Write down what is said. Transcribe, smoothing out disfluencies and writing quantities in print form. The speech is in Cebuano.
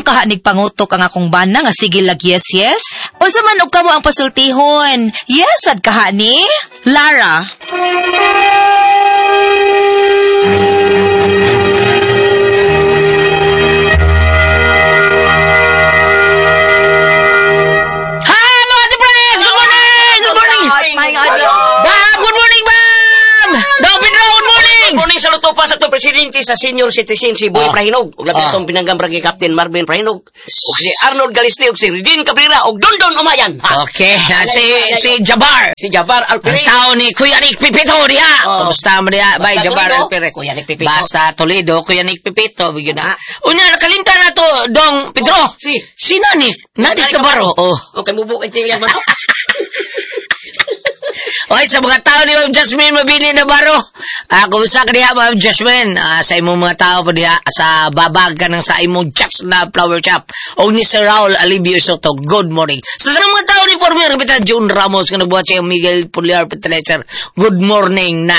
Nganong kaha nigpangutok ang akong bana nga sige lag yes yes? Unsa man og kamo ang pasultihon? Yes sad kaha ni? Lara. Hello, Ate Pres! Good morning! Good morning! My God. Bam! Good morning, Bam! Dong Pedro, good morning! Good morning sa luto pa sa to presidente sa senior citizen si Boy Prahinog ug labi atong pinanggang barangay captain Marvin Prahinog ug si Arnold Galiste ug si Redin Cabrera ug Dondon Umayan. Ha? Okay, si Jabar. Si Jabar Ang Alpires. tao ni Kuya Nick Pipito diha. Oh. Kumusta mo diha? Bye, Basta Jabar Toledo. Alpires. Kuya Nick Pipito. Basta Toledo, Kuya Nick Pipito. Bigyan na. Unya, nakalimtan na to, Dong Pedro. Oh, si. Si Nanik. Nanik Navarro. Oh. Okay, mubo kay Tilya man. Oy, sa mga tao ni Ma'am Jasmine Mabini Navarro. Kumusta ka diha, Ma'am Jasmine? Sa imong mga tao po diha, sa babag ka ng sa imong Jack's Love Flower Shop. O ni Sir Raul Alibio Soto, good morning. Sa tanang mga tao ni former Kapitan June Ramos, nga nagbuhat siya Miguel Puliar Peteleser, good morning na.